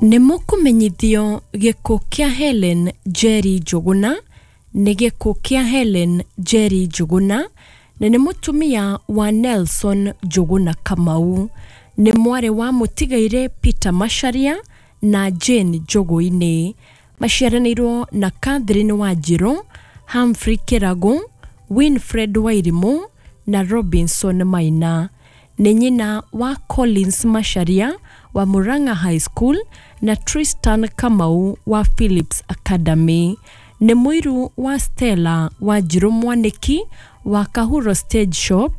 Nĩ mũkũmenyithio gĩkuũ kĩa Hellen Njeri Njũgũna. Nĩ gĩkuũ kĩa Hellen Njeri Njũgũna, na nĩ mũtumia wa Nelson Njũgũna Kamau. Nĩ mwarĩ wa mũtigairĩ Peter Macharia na Jane Njũgũinĩ. Maciaranĩirwo na Catherine Wanjirũ, Humphrey Kĩragũ, Winfred Wairimũ na Robinson Maina. Nĩ nyina wa Collins Macharia wa Murang'a High School na Tristan Kamau wa Phillips Academy. Nĩ mũiru wa Stella Wanjirũ Mwanĩki wa Kahuro Stage Shop,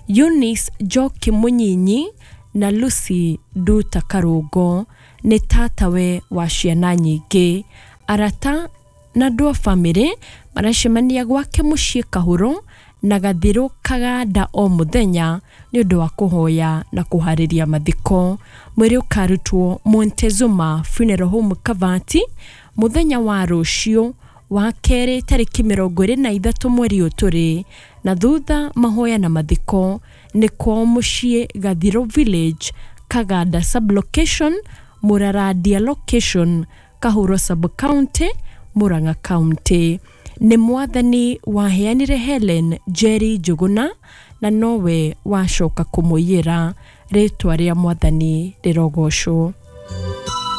Eunice Njoki Mũnyinyi na Lucy Nduta Karũngo. Nĩ tatawe wa ciana nyingĩ. Arata na andũ a bamĩrĩ maracemania gwake mũciĩ Kahuro na Gathirũ Kaganda o mũthenya nĩ ũndũ wa kũhoya na kũharĩria mathiko. Mwĩrĩ ũkarutwo Montezuma Funeral Home Kavati mũthenya wa rũciũ wa kerĩ tarĩki 23 mweri ũyũ tũrĩ, na thutha mahoya na mathiko nĩ kwao mũciĩ Gathirũ Village, Kaganda Sub-location, Mũrarandia Location, Kahuro Sub-county, Murang'a County. Nĩ mwathani waheanire Hellen Njeri Njũgũna na nowe wacoka kũmũiyĩra. Rĩtwa rĩa mwathani rĩrogocwo.